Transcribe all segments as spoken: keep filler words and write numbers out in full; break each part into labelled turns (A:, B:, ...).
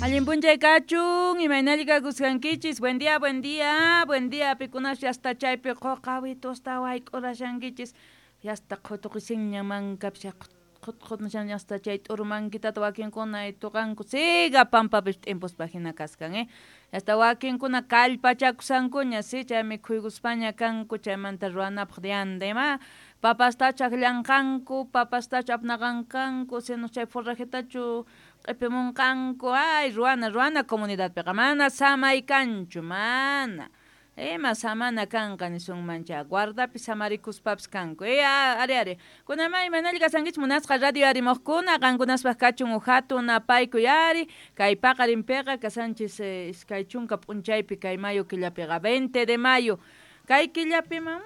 A: Allin p'unchay kachun, imaynalla kakusqankichis. Buen día, buen día, buen día. Pikunas hasta chaypi quqawitusta wayk'urashankichis. Yasta qhutuqisinña mankapis qhutqhutmashan hasta chay t'uru mankitata wakinkuna tuqanku siga pampapis t'impuspa hina kaskan, eh. Hasta wakinkuna kallpachakusankuña, si chay mikhuykuspaña kanku chaymanta ruwanapaq dianda ima papastachu akllanqanku, papastachu apnaqanqanku, sino chay forrajetachu q'ipimunqanku, ay ruwana ruwana comunidadpiqa mana samay kanchu, mana. Ima samana kanqa nisunmancha guardapi samarikuspapis kanku. E ari ari. Kunama imanalla kasankichik munasqa radio arimuqkuna qankunaspaq kachun uhatun napaykuy ari kay paqarinpiqa kasanchis iskay chunka p'unchaypi kay mayo killapiqa veinte de mayo. Kay killapima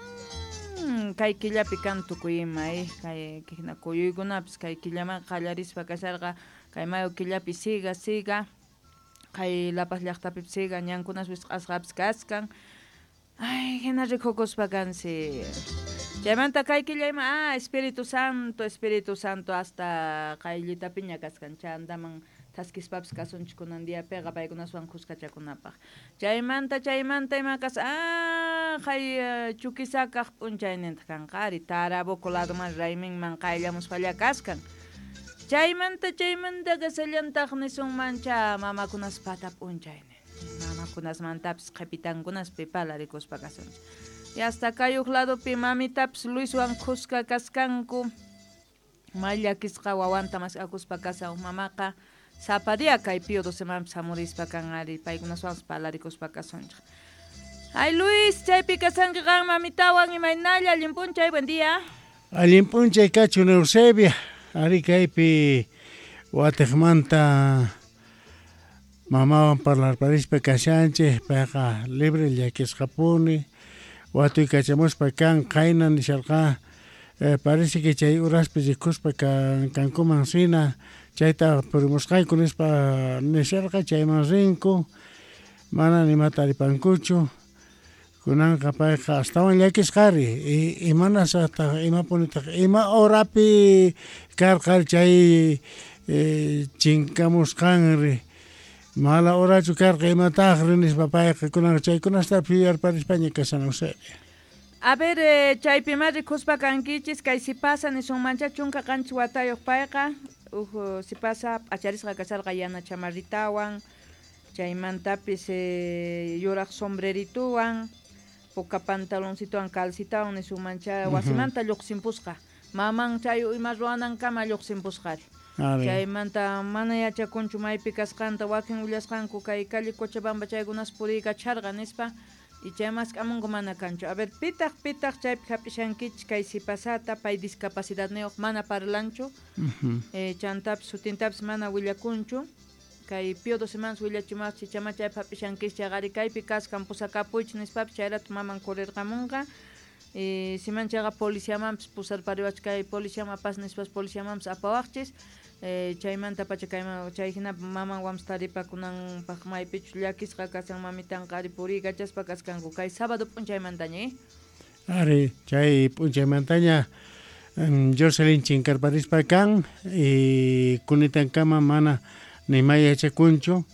A: mm, kay killapi kan tukuy ima eh kay hina kuyuykunapis kay killaman qallarispa kasharqa kay mayo killapi siga siga kay La Paz llaqtapi siga ñankunas wisq'asqapis kaskan. Ay, hina rikukuspa kansi. Chaymanta kay killa ima, ah, Espíritu Santo, Espíritu Santo hasta qayllitapiña kaskan chandaman thaskispapis kasunchik kunan diapiqa paykunaswan kuskachakunapaq. Chaymanta chaymanta ima kas, ah, kay Chuquisacaq p'unchaynintaq kanqa ari Tarabuco ladoman rayminman qayllamuspalla kaskan. Chaymanta chaymanta kasallantaq nisunmancha mamakunas pata p'unchaynin. Mamakunasmantapis qhipitankunaspi palarikuspa kasunchik. Y hasta kay huk ladopi mamitapis Luiswan kuska kaskanku. May llakisqa wawanta mask'akuspa kasan mamaqa sapa día kay Pío docemanpis hamurispa kan ari paykunaswanpas palarikuspa kasunchik. Ay Luis, chaypi kasanki qan mamitawan imaynalla allin p'unchay, buen día.
B: Allin p'unchay kachun Eusebia, ari kaypi watiqmanta mamawan parlarparispa kashanchik, payqa libre llakisqapuni, watuykachamuspa kan qayna nisharqa eh, parece que chay uraspi rikuspa kan kankuman sina chayta purimusqayku nispa nisharqa chayman rinku mana nimata taripankuchu kunanqa payqa astawan llakisqari imanasataq imapunitaq ima horapi karqa chay eh, chinkamusqanri mala horachu karqa imataqri nispa payqa kunanqa chaykunasta yuyarparispaña kashan Eusebia.
A: A ver, eh, chaypima rikuspa kankichis kay sipasa nisunmancha chunka qanchis watayuq payqa uj sipasa p'acharisqa kasharqa yana chamarritawan chaymantapis eh, yuraq sombrerituwan puka pantaloncituwan calcitawan nisunmancha wasimanta lluqsimpusqa maman chay ima ruwanankama lluqsimpusqari. Chaymanta mana yachakunchu maypi kasqanta wakin willasqanku kay calle Cochabamba chaykunas puriykacharqa nispa y chay mask'amunku mana kanchu. A ver, pitaq pitaq chaypi hap'ishankichik kay sipasata pay discapacidadniyuq mana parlanchu uh-huh. eh, chantapis sutintapis mana willakunchu kay Pío docemanpas willachimasqa chama chaypi hap'ishankichik chayqari kaypi kaskan pusakapuychik nispapis chayratu maman kurirqamunqa. Eh, siman chayqa policiamanpis pusarpariwachik kay policiaman apas nispas policiamanpis apawaqchis. Eh, chaymanta pacha kayman chay hina maman wampas taripakunanpaq maypichus llakisqa kasan mamitanqa ari puriykachaspa kaskanku kay sábado p'unchaymantaña, eh?
B: Ari chay p'unchaymantaña um, Jocelyn chinkarparispa kan y kunitankama mana nimay yachakunchu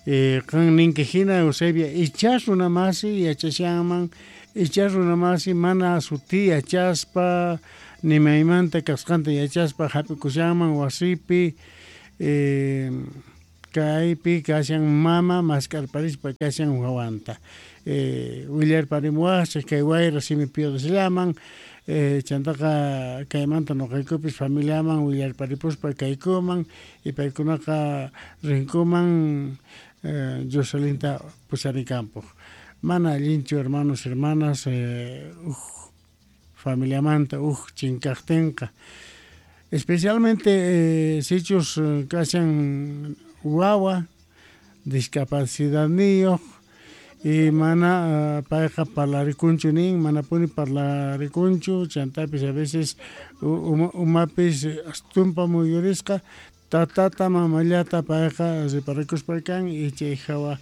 B: eh, qan ninki hina Eusebia ichas runamasi yachashanman ichas runamasi mana suti yachaspa nimaymanta kasqanta yachaspa hap'ikushanman wasipi eh, kaypi kashan mama mask'arparispa kashan wawanta eh, willarparimuwaqchik kay wayra simi Pío docellaman eh, chantaqa kaymanta nuqaykupis familiaman willarparipuspa kaykuman y paykunaqa rinkuman eh, Jocelinta pusarikampuq. Mana allinchu hermanos hermanas eh, uj familiamanta uj chinkaqtinqa especialmente eh, sichus kashan wawa discapacidadniyuq y mana uh, payqa parlarikunchu nin manapuni parlarikunchu chantapis a veces uma, umapis tumpa muyurisqa tatata mamallata payqa riparikuspa kan y chay hawa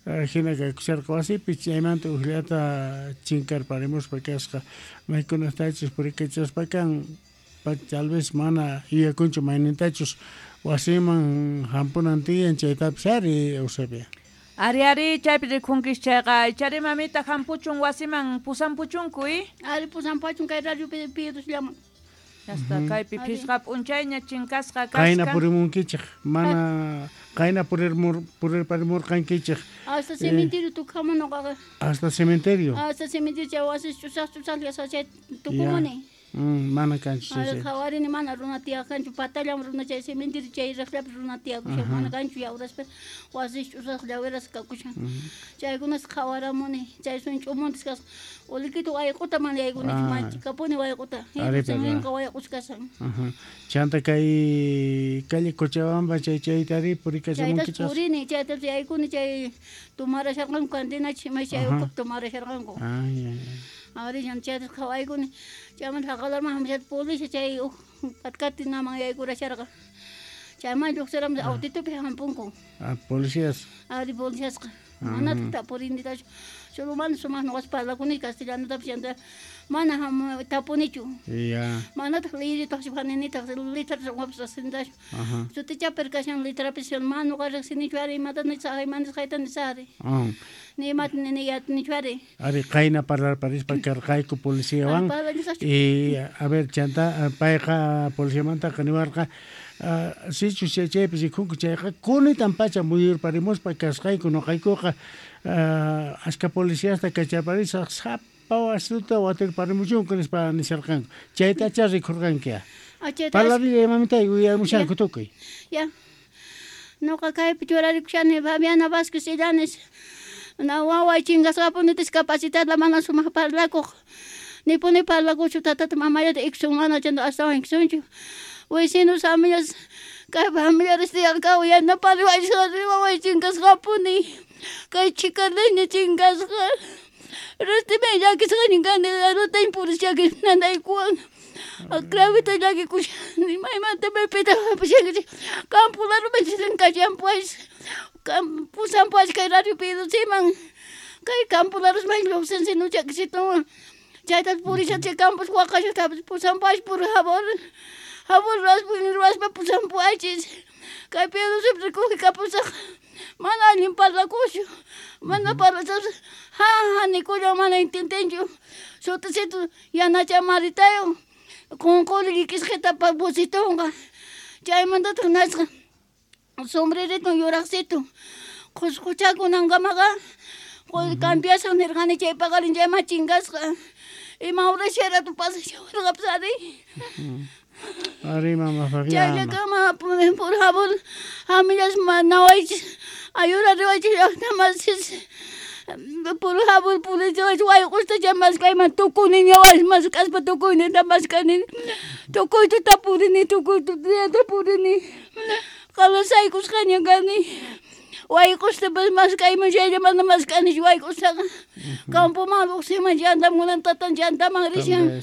B: hina kaykusharqa wasipi chaymanta ujllata chinkarparimuspa kasqa maykunatachus purikachaspa kan tal vez mana yuyakunchu maynintachus Wasiman hampunan tiyan chaytapis ari Eusebia.
A: Ari ari chaypi rikunkis chayqa ichari mamita hampuchun wasiman pusampuchunku i?
C: Ari pusampachun kay radio Piedosllaman.
A: Hasta kaypi phisqa p'unchayña chinkasqa kasqa.
B: Qayna purimunkichik mana qayna purirmur purirparimurqankichik.
C: Hasta cementerio tukama noqaqa.
B: Hasta cementerio.
C: Hasta cementerio chay wasi ch'usaq ch'usaq chay tukumuni.
B: Mm, mana kanchu
C: chay. Qhawarini mana runa tiyaq kanchu patallam runa chay cementerio chay raqllapi runa tiyakushan mana kanchu yawraspa wasi ch'usaq llawiras kakushan. Chaykunas qhawaramuni chay sun ch'umuntis kasqa ulikita wayq'uta mana yaykunichu manchikapuni wayq'uta. Hinqa wayq'us kashan.
B: Chanta kay calle Cochabamba chay chaytari purikachamunkichas.
C: Chaytas purini chaytas yaykuni chay tumarasharqanku cantinachik ima chay ukupi tumarasharqanku.
B: Ay ay.
C: Ari chaytas qhawaykuni chaymanta haqalarman hamushata policía chay katkatinaman yaykurasharqa. Chayman lluqsiramus autitupi hampunku.
B: Ah, policías.
C: Ari policíasqa. Manataq tapurinitachu. Solo mana sumaq nuqas parlakuni castellanotapis chanta mana tapunichu.
B: Ya.
C: Manataq liyritaqchu haninitaq letra uqapis riqsinitachu. Sutichapir kashan letrapis mana nuqa riqsinichu ari imata nisaq ima nisqayta nisaq ari. Ni imata nini yatinichu ari.
B: Ari qayna parlarparispa karqayku policiawan. Y a ver chanta payqa policiamantaqa niwarqa sichus chay chaypi rikunku chayqa kunitan pacha muyurparimuspa kasqayku nuqaykuqa ashka policiasta kachaparisaq sapa wasuta watirparimuchunku nispa nisharqanku chaytacha rikurqanki. Parlarilla mamitay uyarimushanku tukuy.
C: Ya. Nuqa kaypi churarikushani Fabiana Vázquez Illanes. Na waway chinkasqapuni discapacitada mana sumaq parlakuq. Nipuni parlakuchu tatata mamayata iksun mana chanta astawan iksunchu. Vecinos, amigas, kay familiares tiyaq yanapariwaychik waway chinkasqapuni. Kay chikaleña chinkasqa. Rastimi llakisqaña kani arutaña purishaqa nanaykuwan. Gravita llakikushani maymanta maypitaq hap'ishankichik campo laruman chinkachampuwachis. Pusampuwachis kay radio Piedosiman. Kay campo larusman lluqsin sinuchakisitunwan. Chaytas purisha chay campos waqashaqtapas pusampuwachis por favor. Favor ruwaspa pusampuwachis. Kay Piedosipi rikukikapusaq. Mana allin parlakushu. Mana parlasapis ha ha nikulla mana intintinchu. Sutisitu yanachamaritayu. Qunquri llikisqita pusitunqa. Chaymantataq nasqa sombreritun yuraqsitu. Qusquchakunankamaqa cambiasaq nirqani chay paqarin chayman chinkasqa. Ima hora pasashawarqapis ari.
B: Ari mama Fabiana.
C: Chayllakama por favor hamillas nawaychis ayurariwaychis llaqtamasis. Por favor purichiwaychis wayq'usta chay maskayman tukuniña mask'aspa tukuyninta mask'ani. Tukuyta tapurini tukuyta tapurini. Qalasaykusqaña kani. Wayq'ustapas mask'ayman chaylla mana mask'anichu wayq'ustaqa. Campoman lluqsiman llantamunan tatan llantaman rishan.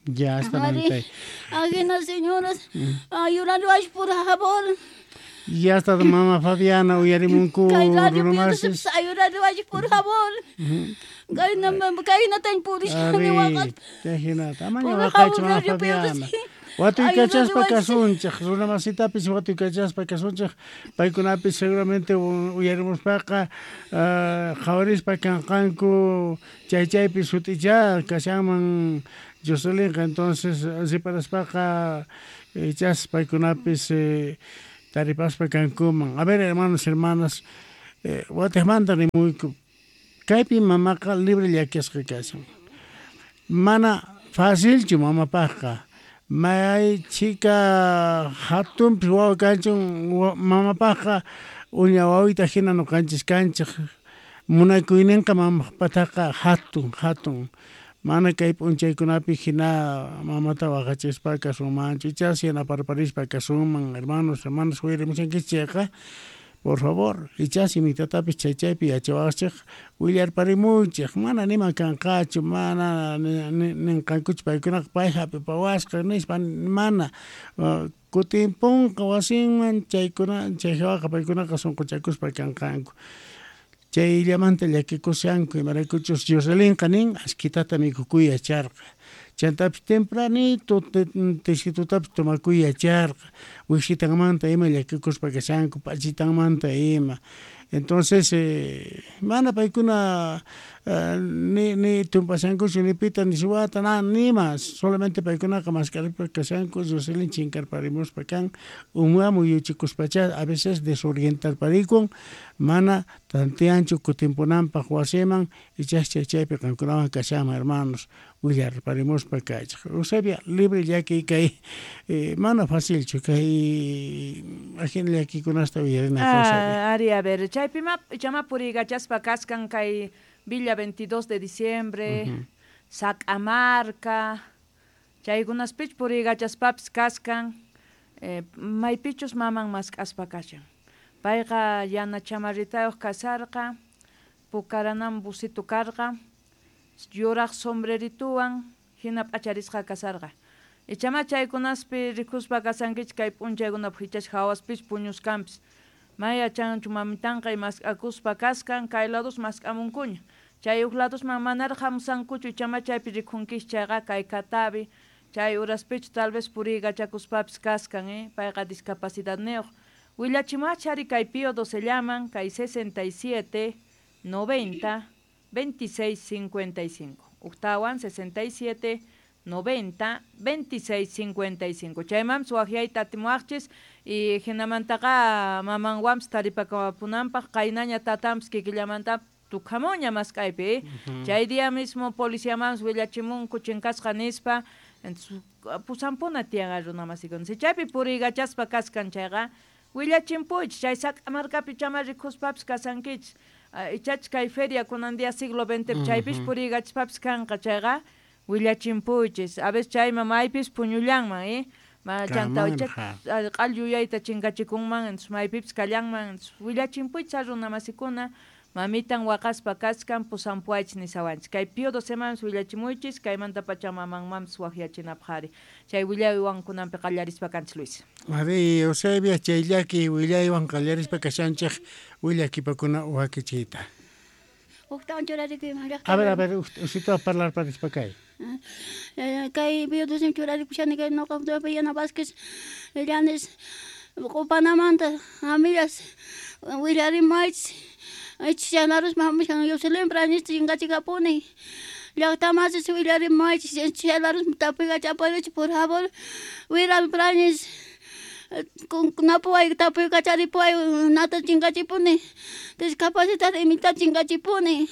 B: Ya está
C: Ari, ajena señoras, ayurariwaychis por favor.
B: Ya está mama Fabiana uyarimunku
C: Kay radio
B: runamasis.
C: Ayurariwaychis por favor. Kayna kaynatan purishani waqaspa.
B: Chayhinata amaña waqaychu mama Fabiana. Watuykachaspa kasunchik runamasitapis watuykachaspa kasunchik paykunapis seguramente uyarimuspaqa qhawarispa kanqanku chay chaypi sut'icha kashanman Joselinqa entonces riparaspaqa ichas paykunapis taripaspa kankuman. A ver hermanos, hermanas, watiqmanta rimuyku kaypi mamaqa libre llakisqa kashan. Mana facilchu mamapaqqa. May chika hatunpis wawa kanchun mamapaqqa uña wawita hina nuqanchis kanchik munakuyninqa mamapataqa hatun hatun. Mana kay p'unchaykunapi hina mamata waqachispa kasunmanchu ichas yanaparparispa kasunman hermanos, hermanas uyarimushankichik chayqa por favor ichas imitatapis chay chaypi yachawaqchik willarparimuychik mana nima kanqachu mana ninqankuchu paykunaqa pay hap'ipawasqa nispa mana kutinpunqa wasinman chaykuna chay hawaqa paykunaqa sunquchakuspa kanqanku. Chayllamanta llakikushanku imaraykuchus Joselinqa nin ashkitata mikhukuy yacharqa. Chantapis tempranito tisitutapis tomakuy yacharqa wisitanmanta ima llakikuspa kashanku p'achitanmanta ima. Entonces eh, mana paykuna uh, ni ni tumpashankuchu ni pita ni suwata na nima solamente paykunaqa mask'aripa kashanku Jocelyn chinkarparimuspa kan uma muyuchikuspacha a veces desorientarparikun mana tanteanchu kutimpunanpaq wasiman ichascha chaypi qankunawan kashanman hermanos willarparimuspa kaychaq. Eusebia libre llaki kay eh, mana facilchu kay ajina llakikunasta uyarina.
A: Ah, ari a ver chaypi ma chama puriykachaspa kaskan kay Villa veintidós de diciembre, uh -huh. Sac'amarca, chaykunaspich puriykachaspapis kaskan, eh, maypichus maman mask'aspa kashan. Payqa yana chamarritayuq kasarqa, pukaranan busito karqa, yuraq sombrerituwan hina p'acharisqa kasarqa. Ichama chaykunaspi rikuspa kasankichik kay p'unchaykunapi hichash hawaspich puñuskanpis. Maya chanchu mamitanqa mask'akuspa kaskan kay lados mask'amunkuña. Chay huk ladosman manaraq hamusankuchu ichama chaypi rikhunkichik chayqa kay katabi chay uraspich tal vez puriykachakuspapis kaskan eh payqa discapacidadniyuq. Willachimachari kay Pío doce llaman kay sesenta y siete noventa veintiséis cincuenta y cinco. Uktawan sesenta y siete noventa veintiséis cincuenta y cinco. Chaymam suwaqyayta atimuwaqchis y hinamantaqa mamanwanpis taripakapunanpaq qaynaña tatanpis kikillamanta tukhamuña mask'aypi. Uh-huh. Chay día mismo policiamanpis willachimunku chinkasqa nispa entonces pusampuna tiyan runa masikuna. Si chaypi puriykachaspa kaskan chayqa willachimpuychis chay Sac'amarkapi chama rikuspapis kasankichis. Ichach kay feria kunan día siglo veinte chaypis puriykachaspapas kanqa chayqa willachimpuychis. A veces chayma maypis puñullanman eh ma chanta q'all yuyayta chinkachikunman entonces maypipis kallanman entonces willachimpuychis runa masikuna mamitan waqaspa kaskan pusampuaychis nisawanchis kay Pío doce mamis willachimuychis kaymanta pacha mamanmanpis waqyachinapaq ari chay willaywan kunanpi qallarispa kanchis Luis.
B: Ari Eusebia chay llaki willaywan qallarispa kashanchik willakipakuna wakichiyta.
C: Huktawan churarikuyman llaqta.
B: A ver, a ver, usita parlar parispa kay.
C: Kay Pío doce churarikushani kay noqa Yana Vázquez Llanes Q'upanamanta amigas willarimaychis Ichanarus mamushan Jocelyn Brañez chinkachikapuni llaqtamasis willarimaychis ichalarus tapuykachaparichis por favor Wiral Brañez napuway tapuykacharipuway nata chinkachipuni discapacitada imita chinkachipuni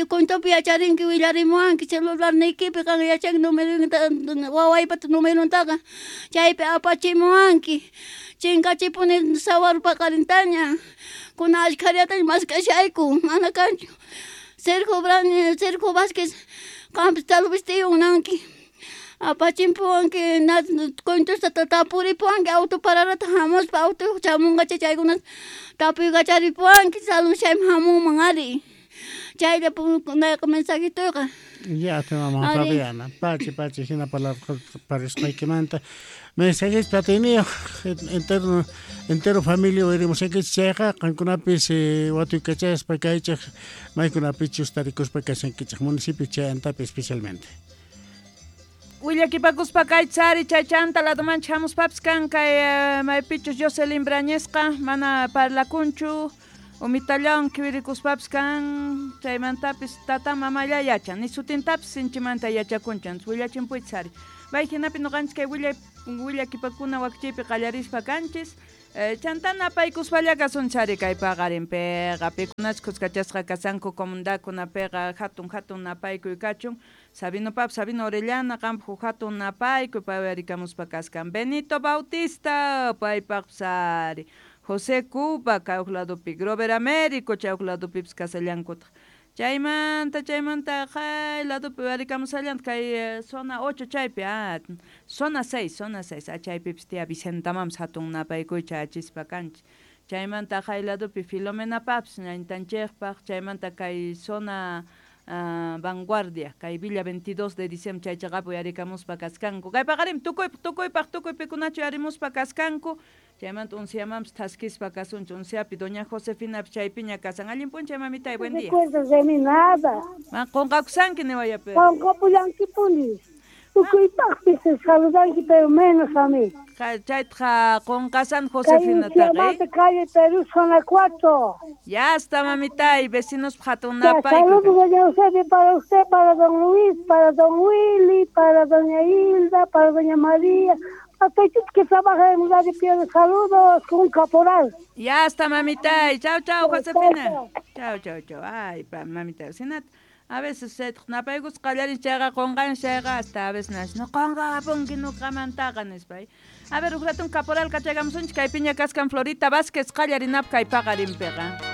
C: Cuentopi yacharinki willarimuwanki celularniykipi qan yachanki numerunta wawaypata numeruntaqa chaypi apachimuwanki chinkachipuni sawar paqarintaña kuna ashkhariataña mask'ashayku mana kanchu Sergio Brañez Sergio Vázquez qampis tal vez tiyunanki apachimpuwanki cuentosta tapuripuwanki auto pararata hamuspa auto chamunqacha chaykuna tapuykacharipuwanki salud chayman hamunman ari chaylla nayqa mensajitoyqa.
B: Ya te mamá Fabiana, pachi pachi hina parisqaykimanta mensajes platiniyuq entero entero familia uyarimusaykichis chayqa qankunapis watuykachaspa kaychik maykunapichus tarikuspa kashankichik municipio chayantapi especialmente.
A: Willakipakuspa kaychari chay chanta ladoman hamuspapis kan kay maypichus Jocelyn Brañezqa mana parlakunchu umitallan kiwirikuspapis kan chaymantapis tata mamalla yachan ni sutintapis sinchimanta yachakunchan willachimpuychis bay hinapi nuqanchis kay willay willakipakuna wakchaypi qallarispa kanchis chanta napaykuspalla kasunchari kay paqarinpiqa pikunachus kuskachasqa kasanku comunidadkunapiqa hatun hatun napaykuy kachun Sabino Pap, Sabino Orellana, qanpaq hatun napaykuy pay kaskan Benito Bautista paypaqpis ari José Cuba kay huk ladopi Grover Américo chay huk ladopipis kasallankutaq chaymanta chaymanta kay ladopi uyarikamusallanta kay zona ocho chaypi ah zona seis zona seis ah chaypipis tia Vicentamampis hatun napaykuy chayachispa kanchik chaymanta kay ladopi Filomenapapis ñañtanchikpaq chaymanta kay zona Uh, Vanguardia, kay Villa veintidós de diciembre chay chaqapi uyarikamuspa kaskanku kay paqarin tukuypaq tukuypaq tukuypikunachu uyarimuspa kaskanku Chaymanta unsiamanpis thaskispa kasunchik. Unsiapi doña Josefina chaypiña kasan. Allin p'unchay mamitay, buen día.
D: Recuerdas de mí nada.
A: Ma qunqakusanki niwayapi.
D: Qunqapullankipuni. Tukuypaqpis saludanki, pero menos a mí.
A: Chaytaqa qunqasan Josefinataqa.
D: Calle Perú, zona cuatro.
A: Ya está, mamitay, vecinos hatun napay.
D: Saludos, doña Eusebio, para usted, para don Luis, para don Willy, para doña Hilda, para doña María. Hasta que trabaja en Radio Piedra, saludos con un caporal.
A: Ya está, mamitay. Chao, chao, Josefina. Chao, chao, chao. Ay, pa, mamita, sinat. A veces se napaykus qallarin chayqa qunqan chayqa hasta a veces nas no qunqapunki nuqamantaqa nispay. A ver, uj ratun caporal kachaykamusunchik kaypiña kaskan Florita Vázquez qallarinap kay paqarinpiqa.